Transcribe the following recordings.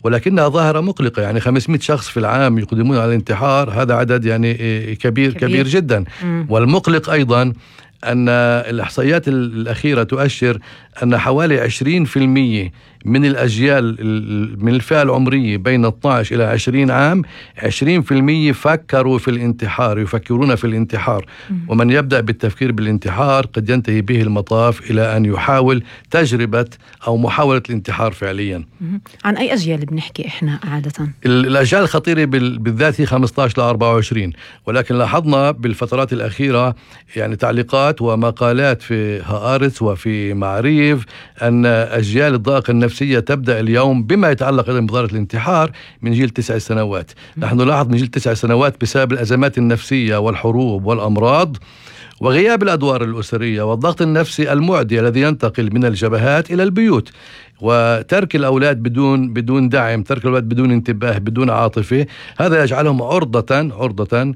ولكنها ظاهرة مقلقة. يعني 500 شخص في العام يقدمون على الانتحار، هذا عدد يعني كبير جدا. والمقلق أيضا أن الإحصائيات الأخيرة تؤشر أن حوالي 20% من الأجيال من الفئة العمرية بين 12 إلى 20 عام 20% فكروا في الانتحار، يفكرون في الانتحار. ومن يبدأ بالتفكير بالانتحار قد ينتهي به المطاف إلى أن يحاول تجربة أو محاولة الانتحار فعليا. عن أي أجيال بنحكي إحنا عادة؟ الأجيال الخطيرة بالذات هي 15 ل 24، ولكن لاحظنا بالفترات الأخيرة يعني تعليقات ومقالات في هآرتس وفي معريف أن أجيال الضائقة النفسية تبدأ اليوم بما يتعلق أيضا بظاهرة الانتحار من جيل 9 سنوات. نحن نلاحظ من جيل 9 سنوات بسبب الأزمات النفسية والحروب والأمراض وغياب الأدوار الأسرية والضغط النفسي المعدي الذي ينتقل من الجبهات إلى البيوت، وترك الأولاد بدون دعم، ترك الأولاد بدون انتباه، بدون عاطفة، هذا يجعلهم عرضة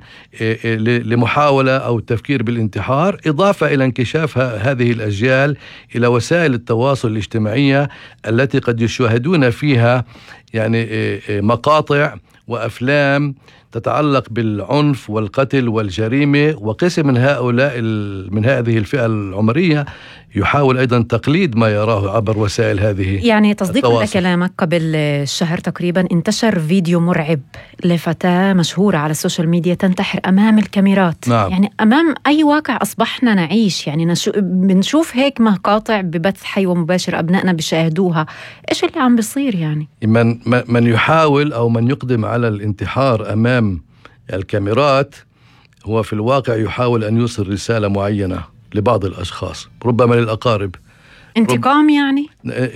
لمحاولة أو التفكير بالانتحار، إضافة إلى انكشاف هذه الأجيال إلى وسائل التواصل الاجتماعية التي قد يشاهدون فيها يعني مقاطع وأفلام تتعلق بالعنف والقتل والجريمة. وقسم من هذه الفئة العمرية يحاول أيضا تقليد ما يراه عبر وسائل هذه يعني تصديقا لكلامك، قبل شهر تقريبا انتشر فيديو مرعب لفتاة مشهورة على السوشيال ميديا تنتحر أمام الكاميرات. نعم. يعني أمام أي واقع أصبحنا نعيش، يعني بنشوف هيك مقاطع ببث حي ومباشر أبنائنا بيشاهدوها. إيش اللي عم بيصير؟ يعني من يحاول أو من يقدم على الانتحار أمام الكاميرات هو في الواقع يحاول أن يوصل رسالة معينة لبعض الأشخاص، ربما للأقارب. انتقام، يعني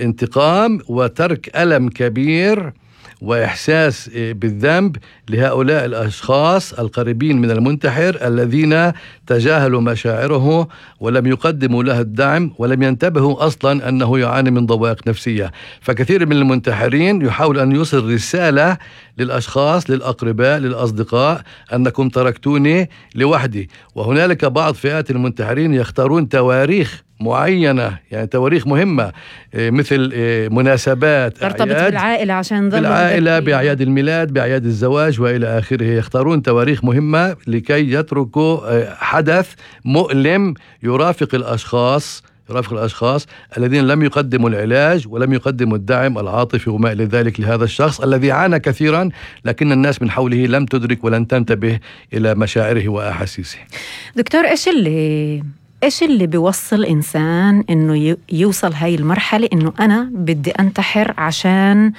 انتقام وترك ألم كبير وإحساس بالذنب لهؤلاء الأشخاص القريبين من المنتحر الذين تجاهلوا مشاعره ولم يقدموا له الدعم ولم ينتبهوا أصلا أنه يعاني من ضوابط نفسية. فكثير من المنتحرين يحاول أن يوصل رسالة للأشخاص، للأقرباء، للأصدقاء أنكم تركتوني لوحدي. وهنالك بعض فئات المنتحرين يختارون تواريخ معينة، يعني تواريخ مهمة مثل مناسبات ترتبط بالعائلة، عشان بالعائلة، بأعياد الميلاد، بأعياد الزواج وإلى آخره. يختارون تواريخ مهمة لكي يتركوا حدث مؤلم يرافق الأشخاص الذين لم يقدموا العلاج ولم يقدموا الدعم العاطفي وما إلى ذلك لهذا الشخص الذي عانى كثيرا، لكن الناس من حوله لم تدرك ولن تنتبه إلى مشاعره وأحاسيسه. دكتور، إيش اللي بيوصل إنسان إنه يوصل هاي المرحلة إنه أنا بدي أنتحر عشان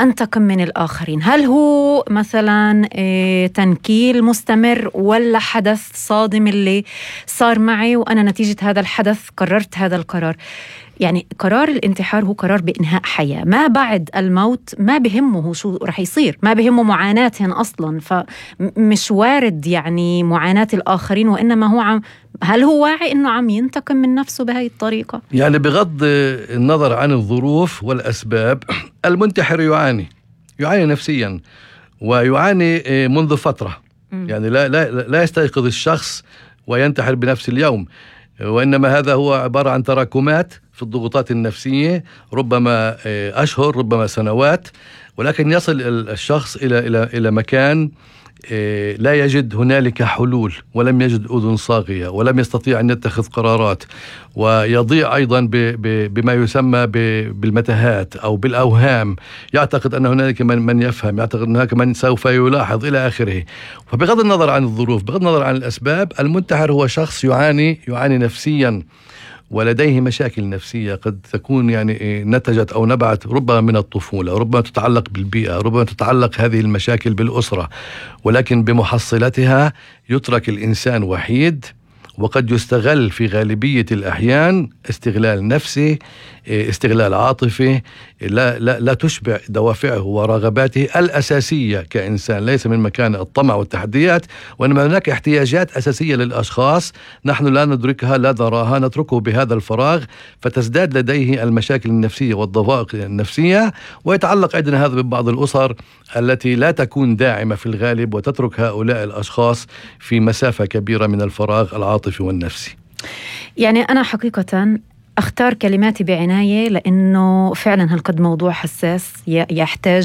أنتقم من الآخرين؟ هل هو مثلا تنكيل مستمر، ولا حدث صادم اللي صار معي وأنا نتيجة هذا الحدث قررت هذا القرار؟ يعني قرار الانتحار هو قرار بإنهاء حياة، ما بعد الموت ما بهمه شو رح يصير، ما بهمه معاناتهم أصلا، فمش وارد يعني معاناة الآخرين، وإنما هو هل هو واعي إنه عم ينتقم من نفسه بهاي الطريقة؟ يعني بغض النظر عن الظروف والأسباب، المنتحر يعاني نفسيا ويعاني منذ فترة. يعني لا يستيقظ الشخص وينتحر بنفس اليوم، وإنما هذا هو عبارة عن تراكمات في الضغوطات النفسية، ربما أشهر، ربما سنوات، ولكن يصل الشخص إلى مكان لا يجد هنالك حلول، ولم يجد أذن صاغية، ولم يستطيع أن يتخذ قرارات، ويضيع أيضا بما يسمى بالمتاهات أو بالأوهام. يعتقد أن هنالك من يفهم، يعتقد أن هناك من سوف يلاحظ إلى آخره. فبغض النظر عن الظروف، بغض النظر عن الأسباب، المنتحر هو شخص يعاني نفسيا ولديه مشاكل نفسية قد تكون يعني نتجت أو نبعت ربما من الطفولة، ربما تتعلق بالبيئة، ربما تتعلق هذه المشاكل بالأسرة، ولكن بمحصلتها يترك الإنسان وحيد، وقد يستغل في غالبية الأحيان استغلال نفسي، استغلال عاطفي، لا تشبع دوافعه ورغباته الأساسية كإنسان، ليس من مكان الطمع والتحديات، وإنما هناك احتياجات أساسية للأشخاص نحن لا ندركها، لا نراها، نتركه بهذا الفراغ، فتزداد لديه المشاكل النفسية والضوابط النفسية. ويتعلق أيضا هذا ببعض الأسر التي لا تكون داعمة في الغالب، وتترك هؤلاء الأشخاص في مسافة كبيرة من الفراغ العاطفي والنفسي. يعني أنا حقيقة أختار كلماتي بعناية، لأنه فعلا هالقد موضوع حساس يحتاج